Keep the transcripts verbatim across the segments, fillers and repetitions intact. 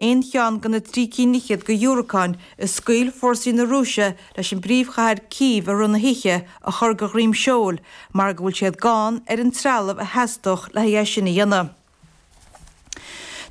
aon cheann de na trí cinn fhichead de dhiúracáin a scaoil fórsaí na Rúise leis an bpríomhchathair Cív i rith na hoíche a chur de dhroim seoil mar go bhfuil siad gann ar an trealamh a theastódh le haghaidh é sin a dhéanamh.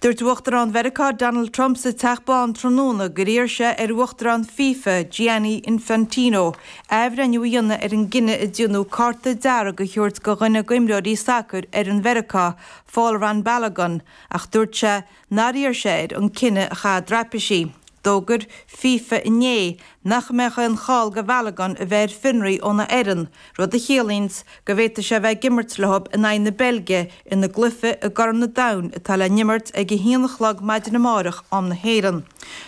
Dúirt Uachtarán Mheiriceá Donald Trump sa Teach Bán tráthnóna gur iarr sé ar Uachtarán FIFA Gianni Infantino athbhreithniú a dhéanamh ar an gcinneadh a déanadh cárta dearg a thabhairt do dhuine d'imreoirí sacair ar an Mheiriceá, Folarin Balogun, ach dúirt sé nár iarr sé air an cinneadh a chaitheamh i dtraipisí. D'fhógair FIFA inné nach mbeadh aon chall do Bhalogun a bheith ar fionraí óna fhoireann, rud a chiallaíonns go bhféadfadh sé a bheith ag imirt leo in aghaidh na Beilge ina gcluiche i gCorn an Domhain atá le n-imirt ag a haon a chlog maidin amárach am na hÉireann.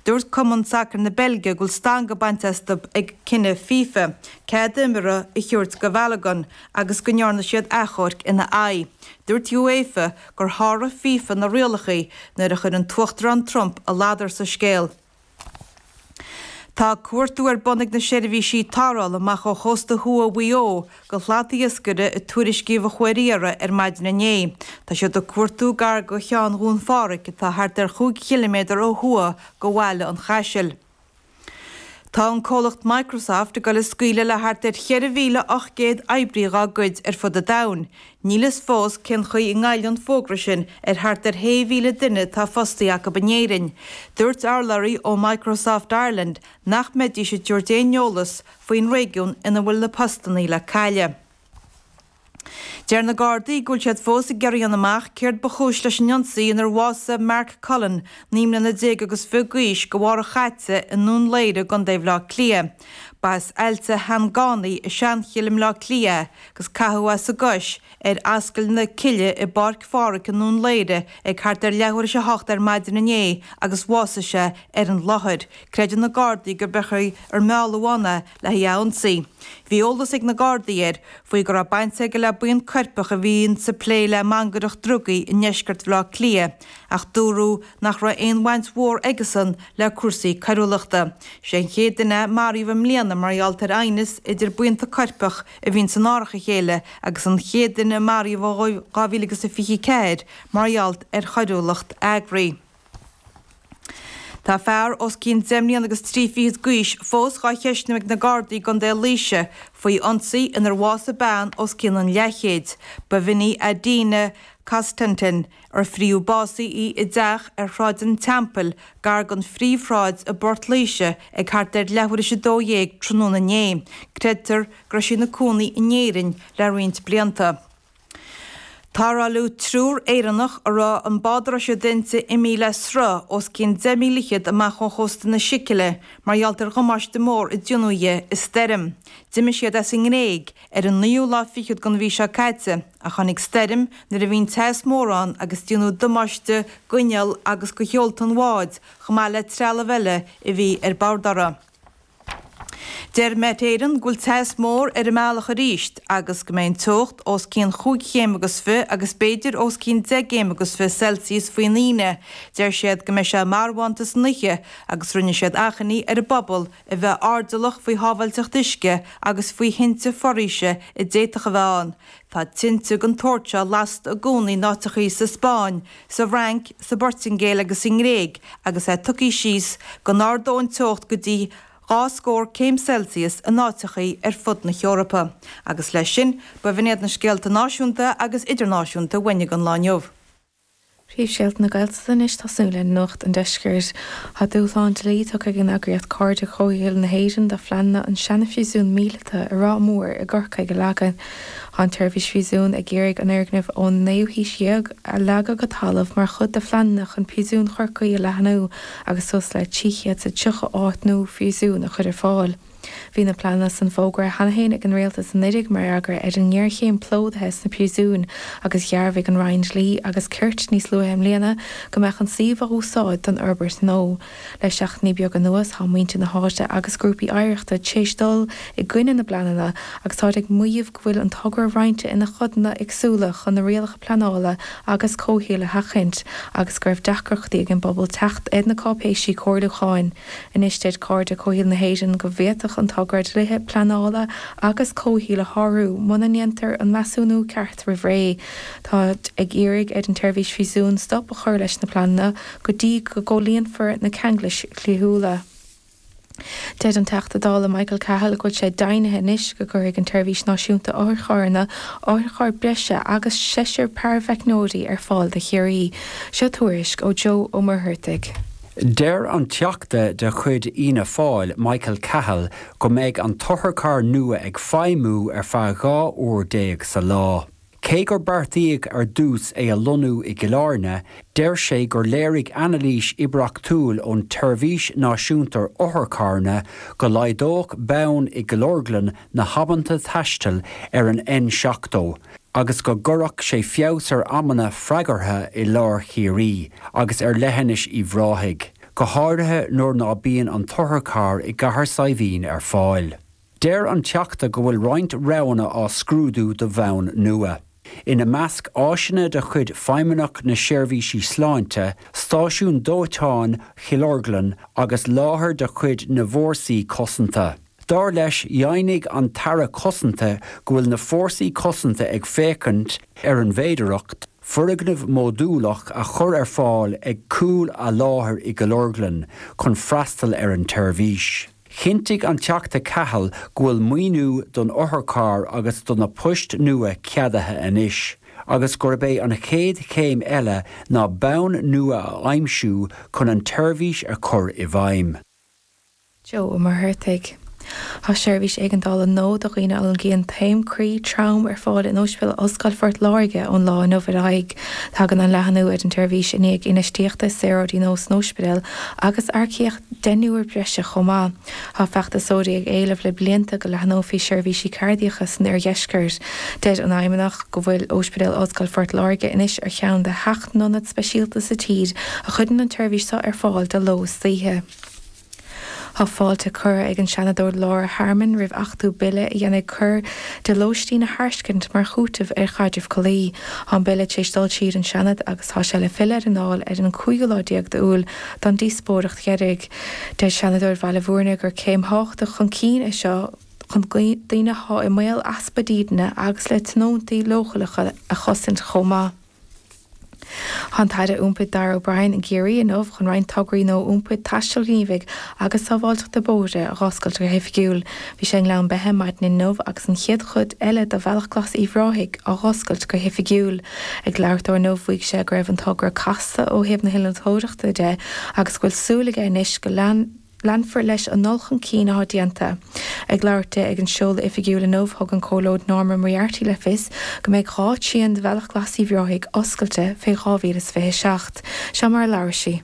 Dúirt Cumann Sacair na Beilge go bhfuil stangadh bainte astu ag cinneadh FIFA cead imeartha a thabhairt do Bhalogun agus go ndearna siad achomharc ina aghaidh. Dúirt UEFA gur sháraigh FIFA na rialacha nuair a chuir an tUachtarán Trump a ladar sa scéal. Tá cuartú ar bun ag na seirbhísí tarrthála amach ó chósta thuaidh Mhaigh Eo do shlatiascaire a tuairiscíodh a chuaigh ar iarraidh ar maidin inné. Tá siad ag cuartú gar do Cheann Dhún Phádraig atá thart ar chúig chiliméadar ó thuaidh de Bhaile an Chaisil. Tá an comhlacht Microsoft ag dul ag scaoileadh le thart ar cheithre mhíle ocht gcéad oibrí dá gcuid ar fud an domhain. Níl fhios fós cén chaoi a ngoillfidh an fógra sin ar thart ar shé mhíle duine atá fostaithe acu in Éirinn. Dúirt urlabhraí ó Microsoft Ireland nach mbeidís ag tabhairt aon eolas faoin réigiún ina bhfuil na postanna le cailleadh. Deir na Gardaí go bhfuil siad fós ag iarraidh a dhéanamh amach céard ba chúis leis an ionsaí inar bhásaigh Mark Cullen, naoi mbliana déag agus fiche d'aois, go Mháireach chaite i nDún Laoghaire i gContae Bhaile Átha Cliath. Ba as Aillte Sheangánaí i Seanchill i mBleá Cliath é agus caitheadh as an gcois ar Ascaill na Cille i bPáirc Phádraig i nDún Laoghaire ag thart ar leathuair tar éis a hocht ar maidin inné agus bhásaigh sé ar an láthair. Creideann na Gardaí gur b'é ar mealladh ann é le haghaidh a ionsaí. Bhí eolas ag na Gardaí air faoi go raibh baint aige le buíon coirpeach a bhíonn ag plé le mangaireacht drugaí i ndeisceart Bhaile Átha Cliath, ach dúradh nach raibh aon bhaint mhór aigesan le cúrsaí coiriúlachta. Sé an chéad duine a maraíodh i mbliana mar gheall ar aighneas idir buíonta coirpeach a bhíonn in árach a chéile agus an chéad duine a maraíodh ó dhá mhíle agus a fiche ceathair mar gheall ar choiriúlacht eagraithe. Tá fear os cionn deich mbliana agus trí fichid d'aois fós dhá cheistniú ag na Gardaí i gContae Laoise faoi ionsaí inar bhásaigh bean os cionn an leathchéid. Ba bh'in í Adina Constantin ar fríodh básaithe í i dteach ar Shráid an Teampaill gar don phríomhshráid i bPort Laoise ag thart ar leathuair tar éis a dó dhéag tráthnóna inné. Creidtear go raibh sí ina cónaí in Éirinn le roinnt blianta. Tarrtháladh triúr Éireannach a raibh an bád a raibh siad inti imithe le sruth os cionn deich míle fhichead amach ó chósta na Sicile mar gheall ar dhamáiste mór a déanadh di i stoirm. D'imigh siad as an nGréig ar an naoú lá fichead den mhí seo caite ach tháinig stoirm nuair a bhí an teas mór ann agus déanadh damáiste d'inneall agus do sheolta an bháid chomh maith le trealamh eile a bhí ar bord orthu. Deir Met Éireann go bhfuil teas mór ar an mbealach arís agus go mbeidh an teocht os cionn chúig chéim agus fiche agus b'fhéidir os cionn deich gcéim agus fiche Celsius faoin Aoine. Deir siad go mbeidh sé marbhánta san oíche agus rinne siad achainí ar an bpobal a bheith airdeallach faoi shábháilteacht uisce agus faoi thinte foraoise a d'fhéadfadh a bheith ann. Tá tinte den tsórt seo lasta i gcónaí in áiteachaí sa Spáinn, sa bhFrainc, sa bPortaingéil agus sa nGréig agus é tugtha síos go n-ardóidh an teocht go dtí dhá scór céim Celsius in áiteachaí ar fud na hEorpa. Agus leis sin, ba bh'in iad na scéalta náisiúnta agus idirnáisiúnta a bhain an lá inniu. Príomhscéalta na Gaeltachta anois tosú le Nuacht an Deiscirt. Tá dúshlán dlí tugtha ag an eagraíocht Cairde Comhshaoil na hÉireann do phleananna an seana-phríosún míleata i Ráth Mór i gCorcaigh a leagan. Tá an tseirbhís phríosún ag iarraidh an fhoirgneamh ón naoú haois dhéag a leagadh go talamh mar chuid de phleananna chun príosún Chorcaí a leathnú agus suas le trí chéad is tríocha áit nua phríosúin a chur ar fáil. Bhí na pleananna san fógartha cheana féin ag an rialtas anuraidh mar fhreagra ar an ngéarchéim plódaithe sna príosúin agus dhearbhaigh an Roinn Dlí agus Cirt níos luaithe i mbliana go mbeadh an suíomh á úsáid don fhorbairt nua. Le seachtainí beaga anuas tá muintir na háite agus grúpaí oidhreachta tar éis dul i gcoinne na bpleananna agus táid ag maíomh go bhfuil an togra roinnte ina chodanna éagsúla chun na rialacha pleanála agus comhshaoil a sheachaint agus go raibh deacrachtaí ag an bpobal teacht ar na cáipéisí comhairliúcháin. Anois deir Cairde Comhshaoil na hÉireann go bhféadfadh bhféadfadh an togra dlíthe pleanála agus comhshaoil a shárú muna ndéantar an measúnú ceart roimh ré. Táid ag iarraidh ar an tSeirbhís Phríosún stop a chur leis na pleananna go dtí go gcomhlíonfar na ceanglais dhlíthiúla. Deir an Teachta Dála Michael Cahill go bhfuil sé deimhnithe anois go gcuirfidh an tSeirbhís Náisiúnta Otharcharranna otharcharr breise agus seisear paraimheicneoirí ar fáil do Chiarraí. Seo tuairisc ó Joe Ó Muircheartaigh. Deir an Teachta de chuid Fhianna Fáil Michael Cahill go mbeidh an t-otharcharr nua ag feidhmiú ar feadh dhá uair déag sa lá. Cé gur beartaíodh ar dtús é a lonnú i gCill Airne, deir sé gur léirigh anailís oibríochtúil ón tSeirbhís Náisiúnta Otharcharranna go laghdódh bonn i gCill Orglan na hamanta taistil ar an N seachtó agus go gcuirfeadh sé feabhas ar amanna freagartha i lár Chiarraí agus ar leithinis Uíbh Ráthaigh, go háirithe nuair ná bíonn an t-otharcharr i gCathair Saidhbhín ar fáil. Deir an Teachta go bhfuil roinnt roghanna á scrúdú do bhonn nua. Ina measc áiseanna de chuid Feidhmeannacht na Seirbhísí Sláinte, Stáisiún Dóiteáin Chill Orglan agus láthair de chuid na bhFórsaí Cosanta. Dar leis, dheimhnigh an tAire Cosanta go bhfuil na Fórsaí Cosanta ag féachaint ar an bhféidearthacht foirgneamh módúlach a chur ar fáil ag cúl a láthair i gCill Orglan chun freastal ar an tseirbhís. Chinntigh an Teachta Cahill go bhfuil maoiniú don otharcharr agus do na poist nua ceadaithe anois, agus gurb é an chéad chéim eile ná bonn nua a aimsiú chun an tseirbhís a chur i bhfeidhm. Joe Ó Muircheartaigh. Tá seirbhís éigeandála nua do dhaoine a fhulaingíonn taom croí trom ar fáil in Ospidéal Ollscoile Phort Láirge ón lá inniu ar aghaidh. Tagann an leathnú ar an tseirbhís i ndiaidh infheistíochta i saoráidí nua san ospidéal agus earcaíocht deichniúr breise chomh maith. Tá feachtasóirí ag éileamh le blianta go leathnófaí seirbhísí cairdiacha san oirdheisceart. Deir an Fheidhmeannacht go bhfuil Ospidéal Ollscoile Phort Láirge anois ar cheann de sheacht n-ionad speisialta sa tír a chuireann an tseirbhís seo ar fáil de ló is d'oíche. Tá fáilte curtha ag an Seanadóir Laura Harmon roimh achtú bille a dhéanfaidh coir de lóistín a thairiscint mar chúiteamh ar chaidreamh collaí. Tá an bille tar éis dul tríd an Seanad agus tá sé le filleadh ar an Dáil ar an cúigiú lá déag d'Iúil don díospóireacht dheiridh. Deir Seanadóir Bhaile Bhúirne gur céim thábhachtach chun cinn é seo chun daoine atá i mbaol easpa dídine agus le tionóntaí leochaileacha a chosaint chomh maith. Tá an tAire Iompair Darragh O'Brien i gCiarraí inniu chun roinnt tograí nua iompair, taistil ghníomhaigh agus sábháilteachta bóithre a dh'oscailt go hoifigiúil. Bhí sé i nGleann Beithe maidin inniu agus an chéad chuid eile de Bhealach Glas Uíbh Ráthaigh á dh'oscailt go hoifigiúil. Ag labhairt dó inniu mhaígh sé go raibh an togra casta ó thaobh na hinnealtóireachta de agus go bhfuil súil aige anois go leanfar leis an ndul chun cinn atá déanta. Ag labhairt di ag an seoladh oifigiúil inniu, thug an Comhairleoir Norma Moriarty le fios go mbeidh dhá thrian de Bhealach Glas Uíbh Ráthaigh oscailte fé dhá mhíle is fiche a seacht. Seo mar a labhair sí.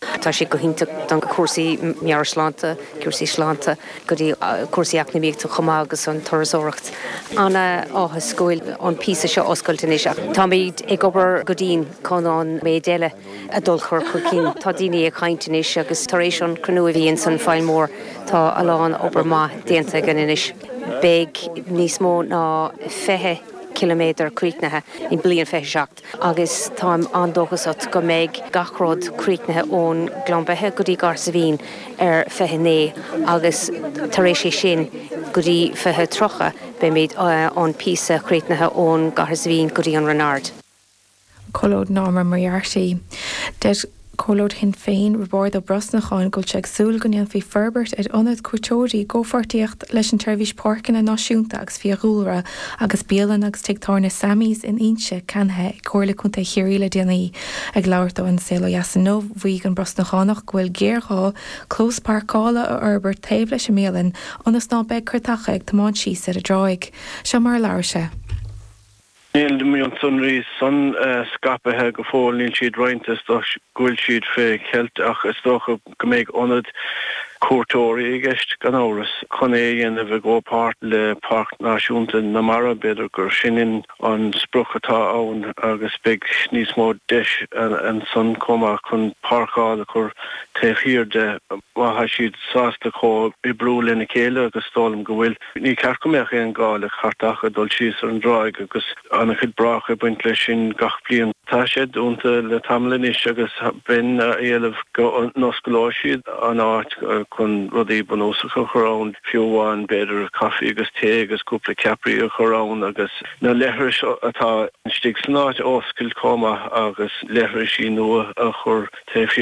Tá sé go hiontach don cúrsaí meabhairshláinte, cúrsaí sláinte, go dtí cúrsaí eacnamaíochta chomh maith agus an turasóireacht. An-áthas go bhfuil an píosa seo oscailte anois ach táimid ag obair go dian chun an méid eile a dul chur chun cinn. Tá daoine ag caint anois agus tar éis an cruinniú a bhí ins an Faill Mór tá a lán obair maith déanta againn anois. Beidh níos mó ná fiche ciliméadar críochnaithe i bliain fiche seacht agus táim an-dóchasach go mbeidh gach rud críochnaithe ón Gleann Beithe go dtí Gort Saidhbhín ar fiche naoi agus tar éis é sin go dtí fiche tríocha beimid an píosa críochnaithe ón gCathair Saidhbhín go dtí an Rinn Ard. Comhairleoir Norma Moriarty. Deir Comhairleoir Shinn Féin, Roibeárd Ó Brosnacháin, go bhfuil sé ag súil go ndéanfaí forbairt ar ionad cuairteoirí i gcomhpháirtíocht leis an tSeirbhís Páirceanna Náisiúnta agus Fiadhúlra agus bialann agus tigh tábhairne Sammy's in Inse ceannaithe ag Comhairle Contae Chiarraí le déanaí. Ag labhairt dó ar An Saol Ó Dheas inniu, mhaígh an Brosnachánach go bhfuil géarghá clós páirceála a fhorbairt taobh leis an mbialann ionas ná beidh cairteacha ag tiomáint síos ar an dtráigh. Seo mar a labhair sé. Níl na mionsonraí san scaipthe go fóill, níl siad roinnte, is dócha go bhfuil siad fé cheilt ach is dócha go mbeidh ionad cuairteoirí i gceist, gan amhras. Chun é a dhéanamh i gcomhpháirt le Páirc Náisiúnta na Mara, b'fhéidir gur sin an sprioc atá ann agus beidh níos mó deis ansan chomh maith chun páirceáil a chur taobh thiar de má tá siad sásta comhoibriú lena chéile agus is dóigh liom go bhfuil. Ní ceart go mbeadh aon ghá le cairteacha dul síos ar an dtráigh agus an-chuid brách ag baint leis sin gach bliain. Tá sé dúnta le tamall anois agus bheinn ag éileamh go n-osclódh siad an áit chun rudaí bunúsacha a chur ann, fiú amháin b'fhéidir caife agus tae agus cúpla ceapairí a chur ann agus na leithris atá istigh san áit a oscailt chomh maith agus leithrisí nua a chur taobh thiar.